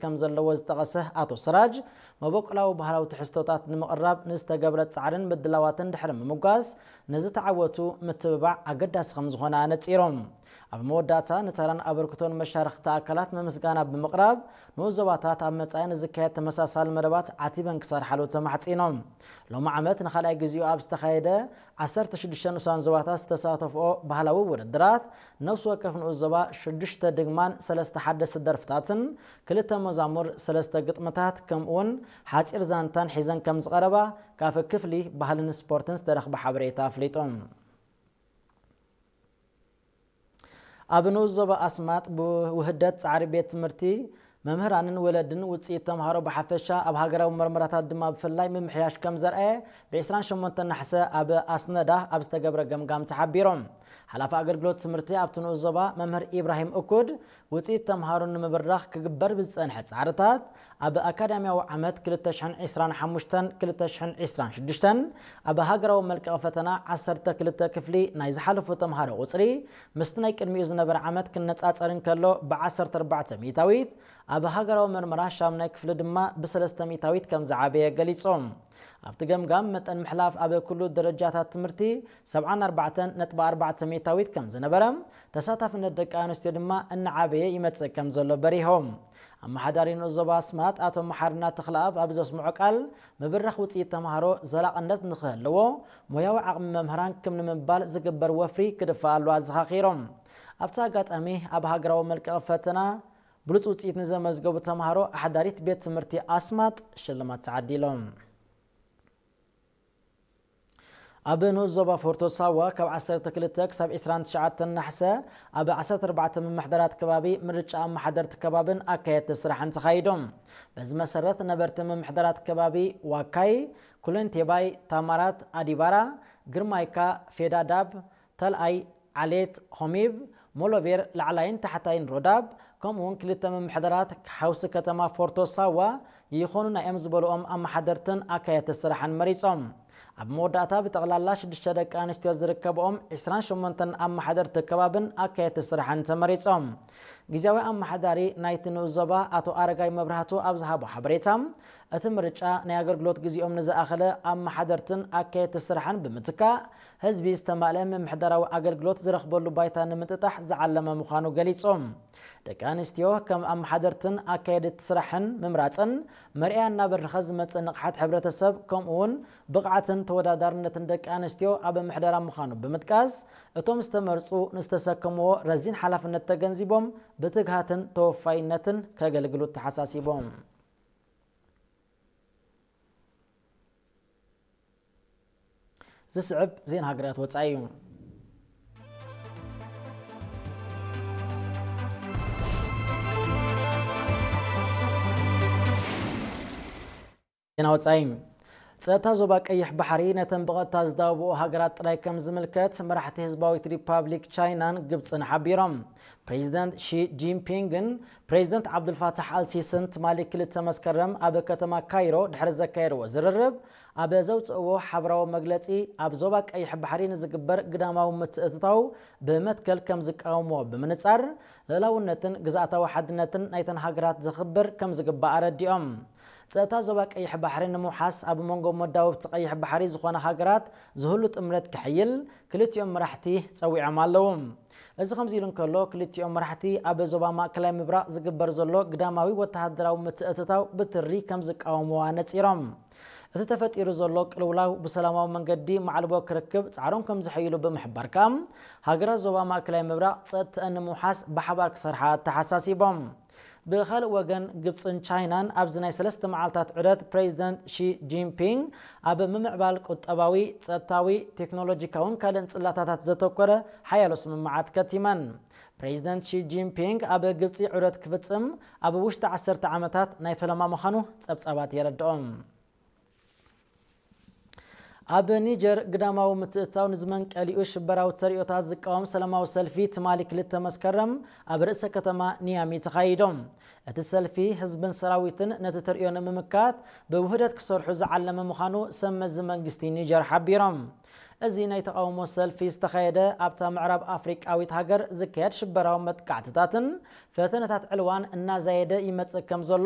ከም ዘለዎ ዝጠቐሰ ኣቶ ስራጅ፣ መበቆላዊ ባህላዊ ትሕዝቶታት ንምቕራብ ንዝተገብረ ጻዕርን ምድላዋትን ድሕሪ ምምጓስ፣ ንዝተዓወቱ ምትብባዕ ኣገዳሲ ከም ዝኾነ ኣነጺሮም። ኣብ መወዳእታ ንተራን ኣበርክቶን መሻርኽቲ ኣካላት መመስጋና ብምቕራብ፣ ንኡስ ዞባታት ኣብ መጻኢ ንዝካየድ ተመሳሳሊ መደባት ዓቲበን ክሰርሓሉ ተማሕጺኖም። ሎሚ ዓመት ንኻልኣይ ግዜኡ ኣብ ዝተኻየደ ዓሰርተ ሽዱሽተ ንኡሳን ዞባታት ዝተሳተፍኦ ባህላዊ ውድድራት፣ ነፍሲ ወከፍ ንኡስ ዞባ ሽዱሽተ ድግማን ሰለስተ ሓደስቲ ደርፍታትን ክልተ መዛሙር፣ ሰለስተ ግጥምታት፣ ከምኡውን ሓጺር ዛንታን ሒዘን ከም ዝቐረባ ካብ ክፍሊ ባህልን ስፖርትን ዝተረኽበ ሓበሬታ ኣፍሊጡ። ኣብ ንኡስ ዞባ ኣስማጥ ብውህደት ጻዕሪ ቤት ትምህርቲ፣ መምህራንን ወለድን ውጽኢት ተምሃሮ ብሓፈሻ ኣብ ሃገራዊ መርመራታት ድማ ብፍላይ ምምሕያሽ ከም ዘርኣየ ብ ዕስራን ሸሞንተን ነሓሰ ኣብ ኣስነዳ ኣብ ዝተገብረ ገምጋም ተሓቢሮም። ሓላፊ ኣገልግሎት ትምህርቲ ኣብቲ ንኡስ ዞባ መምህር ኢብራሂም እኩድ ውጽኢት ተምሃሮ ንምብራኽ ክግበር ብዝጸንሐ ጻዕርታት ኣብ ኣካዳሚያዊ ዓመት ክልተ ሽሕን ዕስራን ሓሙሽተን ክልተ ሽሕን ዕስራን ሽዱሽተን ኣብ ሃገራዊ መልቀቒ ፈተና ዓሰርተ ክልተ ክፍሊ ናይ ዝሓለፉ ተምሃሮ ቁጽሪ ምስቲ ናይ ቅድሚኡ ዝነበረ ዓመት ክነጻጸር እንከሎ ብ ዓሰርተ ኣርባዕተ ሚእታዊት፣ ኣብ ሃገራዊ መርመራ ሻምናይ ክፍሊ ድማ ብ ሰለስተ ሚእታዊት ከም ዝዓበየ ገሊጾም። ኣብቲ ገምጋም መጠን ምሕላፍ ኣብ ኩሉ ደረጃታት ትምህርቲ ሰብዓን ኣርባዕተን ነጥቢ ኣርባዕተ ሚእታዊት ከም ዝነበረ፣ ተሳታፍነት ደቂ ኣንስትዮ ድማ እናዓበየ ይመጽእ ከም ዘሎ በሪሆም። ኣመሓዳሪ ንኡስ ዞባ ኣስማጥ ኣቶ መሓርና ተኽለኣብ ኣብ ዘስምዖ ቃል፣ ምብራኽ ውጽኢት ተምሃሮ ዘላቕነት ንኽህልዎ ሞያዊ ዓቕሚ መምህራን ክም ንምባል ዝግበር ወፍሪ ክድፋእ ኣሎ ኣዘኻኺሮም። ኣብቲ ኣጋጣሚ ኣብ ሃገራዊ መልቀቒ ፈተና ብሉጽ ውጽኢት ንዘመዝገቡ ተምሃሮ ኣሕዳሪት ቤት ትምህርቲ ኣስማጥ ሽልማት ተዓዲሎም። ኣብ ንኡስ ዞባ ፎርቶ ሳዋ ካብ ዓሰርተ ክልተ ክሳብ ዕስራን ትሽዓተን ናሕሰ ኣብ ዓሰርተ ኣርባዕተ ምምሕዳራት ከባቢ ምርጫ ኣመሓደርቲ ከባብን ኣካየድቲ ስራሕን ተኻይዶም። በዚ መሰረት ነበርቲ ምምሕዳራት ከባቢ ዋካይ፣ ኩለንቴባይ፣ ታማራት፣ ኣዲባራ፣ ግርማይካ፣ ፌዳዳብ፣ ተልኣይ፣ ዓሌት፣ ሆሚብ፣ ሞሎቤር፣ ላዕላይን ታሕታይን ሮዳብ፣ ከምኡ እውን ክልተ ምምሕዳራት ሓውሲ ከተማ ፎርቶ ሳዋ ይኾኑና እዮም ዝበልኦም ኣመሓደርትን ኣካየድቲ ስራሕን መሪጾም። ኣብ መወዳእታ ብጠቕላላ ሽዱሽተ ደቂ ኣንስትዮ ዝርከብኦም ዕስራን ሸሞንተን ኣመሓደርቲ ከባብን ኣካየድቲ ስራሕን ተመሪጾም። ግዝያዊ ኣመሓዳሪ ናይቲ ንኡስ ዞባ ኣቶ ኣረጋይ መብራህቱ ኣብ ዝሃቦ ሓበሬታ፣ እቲ ምርጫ ናይ ኣገልግሎት ግዜኦም ንዝኣኸለ ኣመሓደርትን ኣካየድቲ ስራሕን ብምትካእ፣ ህዝቢ ዝተማልአ ምምሕዳራዊ ኣገልግሎት ዝረኽበሉ ባይታ ንምጥጣሕ ዝዓለመ ምዃኑ ገሊጾም። ደቂ ኣንስትዮ ከም ኣመሓደርትን ኣካየድቲ ስራሕን ምምራጸን መርኣያ እናበረኸ ዝመጽእ ንቕሓት ሕብረተሰብ፣ ከምኡ እውን ብቕዓትን ተወዳዳርነትን ደቂ ኣንስትዮ ኣብ ምሕደራ ምዃኑ ብምጥቃስ፣ እቶም ዝተመርጹ ንዝተሰከምዎ ረዚን ሓላፍነት ተገንዚቦም ብትግሃትን ተወፋይነትን ከገልግሉ ተሓሳሲቦም። ዝስዕብ ዜና ሃገራት ወጻኢ እዩ። ዜና ወጻኢ። ጸጥታ ዞባ ቀይሕ ባሕሪ ነተን ብቐጥታ ዝዳወብኦ ሃገራት ጥራይ ከም ዝምልከት መራሕቲ ህዝባዊት ሪፓብሊክ ቻይናን ግብጽን ሓቢሮም። ፕሬዚደንት ሺ ጂንፒንግን ፕሬዚደንት ዓብዱልፋታሕ ኣልሲስን ትማሊ ክልተ መስከረም ኣብ ከተማ ካይሮ ድሕሪ ዘካየድዎ ዝርርብ፣ ኣብ ዘውፅእዎ ሓበራዊ መግለፂ፣ ኣብ ዞባ ቀይሕ ባሕሪ ንዝግበር ግዳማዊ ምትእትታው ብመትከል ከም ዝቃወምዎ ብምንፃር፣ ልእላውነትን ግዝኣታዊ ሓድነትን ናይተን ሃገራት ዘኽብር ከም ዝግባእ ኣረዲኦም። ጸጥታ ዞባ ቀይሕ ባሕሪ ንምውሓስ ኣብ መንጎ መዳውብቲ ቀይሕ ባሕሪ ዝኾነ ሃገራት ዝህሉ ጥምረት ክሕይል ክልቲኦም መራሕቲ ጸዊዖም ኣለዉ። እዚ ከምዚ ኢሉ እንከሎ፣ ክልቲኦም መራሕቲ ኣብ ዞባ ማእከላይ ምብራቕ ዝግበር ዘሎ ግዳማዊ ወተሃደራዊ ምትእትታው ብትሪ ከም ዝቃወምዎ ኣነጺሮም። እቲ ተፈጢሩ ዘሎ ቅልውላው ብሰላማዊ መንገዲ ማዕልቦ ክርክብ ጻዕሮም ከም ዘሐይሉ ብምሕባር ከኣ፣ ሃገራት ዞባ ማእከላይ ምብራቕ ጸጥተአን ንምውሓስ ብሓባር ክሰርሓ ኣተሓሳሲቦም። ብኻልእ ወገን፣ ግብጽን ቻይናን ኣብዚ ናይ ሰለስተ መዓልታት ዑደት ፕሬዚደንት ሺ ጂንፒንግ ኣብ ምምዕባል ቁጠባዊ፣ ጸጥታዊ፣ ቴክኖሎጂካውን ካልእን ጽላታታት ዘተኮረ ሓያሎ ስምምዓት ከቲመን። ፕሬዚደንት ሺ ጂንፒንግ ኣብ ግብጺ ዑደት ክፍጽም ኣብ ውሽጢ ዓሰርተ ዓመታት ናይ ፈለማ ምዃኑ ጸብጻባት የረድኦም። ኣብ ኒጀር ግዳማዊ ምትእትታው ንዝመንቀሊኡ ሽበራዊ ተርእዮታት ዝቃወም ሰላማዊ ሰልፊ ትማሊ ክልተ መስከረም ኣብ ርእሰ ከተማ ኒያሚ ተኻይዶም። እቲ ሰልፊ ህዝብን ሰራዊትን ነቲ ተርእዮ ንምምካት ብውህደት ክሰርሑ ዝዓለመ ምዃኑ ሰብ መዚ መንግስቲ ኒጀር ሓቢሮም። እዚ ናይ ተቓውሞ ሰልፊ ዝተኻየደ ኣብታ ምዕራብ ኣፍሪቃዊት ሃገር ዝካየድ ሽበራዊ መጥቃዕትታትን ፈተነታት ዕልዋን እናዛየደ ይመጽእ ከም ዘሎ